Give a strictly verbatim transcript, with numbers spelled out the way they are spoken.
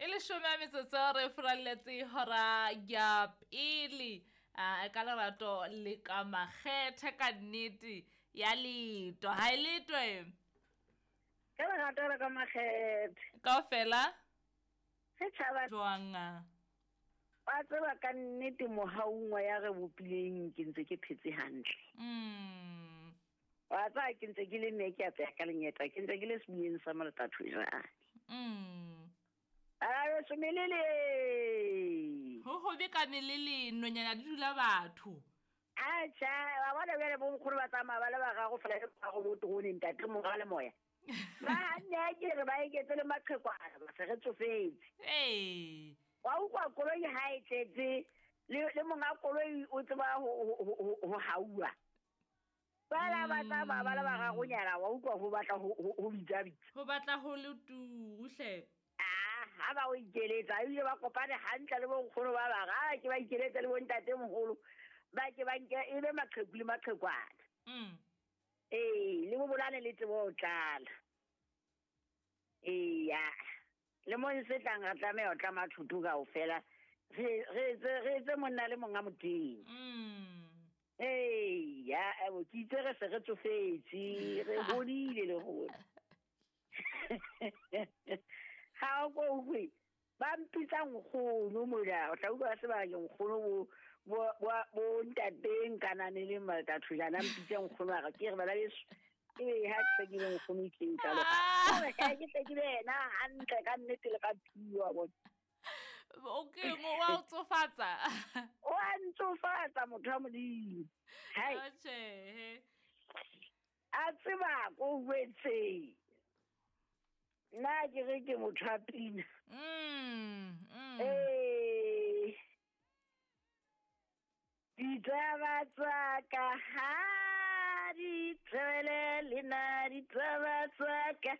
leshome a metsotso re furaletse hora ya pele a ka lerato le ka makgethe ka nnete ya leto ha e letwe ka lerato le ka makgethe kaofela re tshaba jwang wa tseba ka nnete mohaung wa ya re bopileng ke ntse ke phetse hantle mm wa tseba ke ntse ke le mme ke apeya ka lenyeta ke ntse ke le sebuyeng sa Moletatho jwale mm a so melele ho hobe ka melele nonyana di dula batho acha wa bona bjale bo nkgolo ba tsamaya ba le bararo fela le ba go botrone ntate mora le moya ba nne ke re ba eketse le maqhekwana ba se re tsofetse ee wa utlwa koloi ha e tletse le le monga koloi o tseba ho haua ba la ba tsamaya ba le bararonyana wa utlwa ho batla ho bitsa bitsa ho batla ho le turu hle ah ha ba o ikeletsa ebile ba kopane hantle le bonkgono ba bara ke ba ikeletsa le bontate moholo ba ke ba nke e be maqheku le maqhekwana mm ee le bobolane le tsebo ho tlala eya le mo se tlang re tlameha ho tlama thuto kaofela re re etse re etse monna le monga moteng mm ee ya ebo ke itse re se re tsofetse re hodile le rona ha o ko utlwe ba mpitsa nkgono mona o tla utlwa se ba ke nkgono bo bo bo ntateng kanane le Moletatho jana mpitsa nkgono a re ke re bana beso e ha ke ke le nkgono ke ntalo ha ke tle ke be yena hantle ka nnete le ka phiwa bona okay mo wa o tsofatsa o a ntsofatsa motho wa Modimo hai atjhe a tseba ko wetse nna ke re ke motho wa pina mm mm ee ditaba tsa ka ha di tswele le nna ditaba tsa ka